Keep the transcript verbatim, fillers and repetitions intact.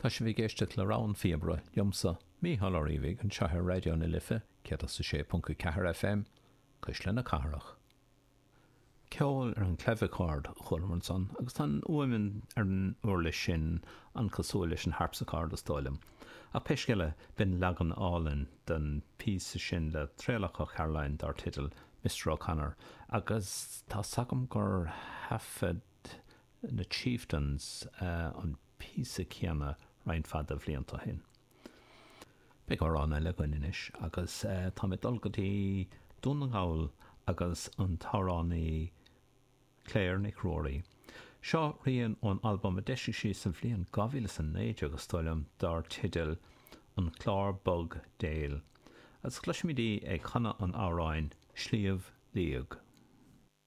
Tá sibh ag éisteacht le Rogha an Phíobaire liomsa, Mícheál Ó Riabhaigh, anseo ar Raidió na Life céad is a sé ponc a ceathair FM, Cuisle na Cathrach. Ceol ar an clavichord a chualamar ansan agus tá an fhuaim ar an uirlis sin an-chosúil leis an harpsichord is dóigh liom. Ach pé scéal é, b'in leagan álainn den phíosa sin le Traolach Ó Cairealláin dar teideal Mr O'Connor agus tá 's agam gur thaifead na Chieftains an píosa céanna roinnt mhaith de bhlianta ó shin. Beidh amhrán eile againn anois agus tá mé ag dul go dtí Dún na nGall agus an t-amhránaí Claire Nic Ruairí. Seo rian ón albam a d'eisigh sí sa bhliain dhá mhíle is a naoi déag is dóigh liom dar teideal An Clár Bog Déil agus cloisfimid í ag canadh an amhráin Sliabh Liag.